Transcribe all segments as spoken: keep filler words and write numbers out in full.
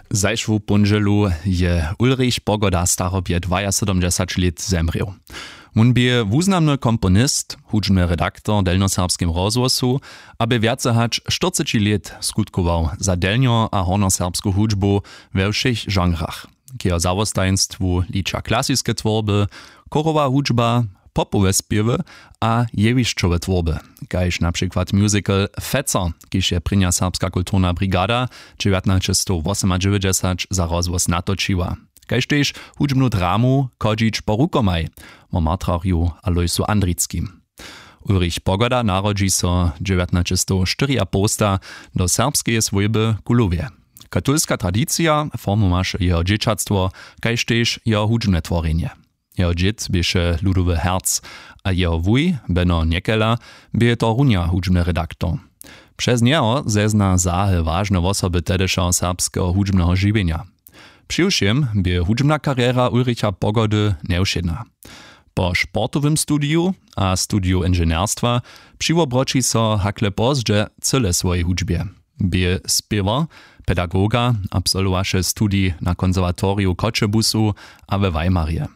Zašłu póndźelu je Ulrich Pogoda w starobje dwajasydomdźesać lět zemrěł. Wón bě wuznamny komponist, hudźbny redaktor w delnjoserbskim rozhłosu a bě wjace hač štyrceći lět skutkował za delnjo a hornjoserbsku hudźbu we wšěch žanrach. K jeho zawostajeństwu liča klasiske twórby, chórowa hudźba, popowe spěwy a jewišćowe twórby, kaž na přikład musical Feco, kiž je prěnja serbska kulturna brigada dźewjatnaćestowosomadźewjećdźesać za rozhłos natočiła, kaž tež hudźbnu dramu Chodźić po rukomaj wo martrarju Alojsu Andrickim. Ulrich Pogoda narodźi so dźewjatnaćestowštyriapołsta do serbskeje swójby w Kulowje. Katolska tradicija formowaše jeho dźěćatstwo, kaž tež jeho hudźbne tworjenje. Jeho dźěd běše ludowy herc a jeho wuj Beno Njekela bě to runja hudźbny redaktor. Přez njeho zezna zahe wažne wosoby tehdyšeho serbskeho hudźbneho žiwjenja. Přiwšěm bě hudźbna karjera Ulricha Pogody njewšědna. Po sportowym studiju a studiju inženjerstwa přiwobroći so hakle pozdźe cyle swojej hudźbje. Bě spěwar, pedagoga, absolwowaše studij na konserwatoriju w Choćebuzu a we Weimarje.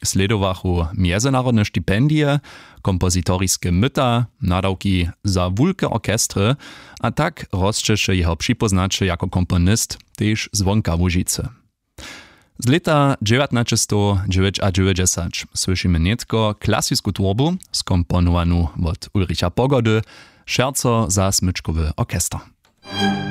Slědowachu mjezynarodne stipendije, kompozitoriske myta, nadawki za wulke orchestry, a tak rosćeše jeho připóznaće jako komponist tež zwonka Łužicy. Z lěta dźewjatnaćestowdźewjećadźewjećdźesać słyšimy nětko klasisku twórbu, skomponowanu wot Ulricha Pogody, Šerco za smyčkowy orchester.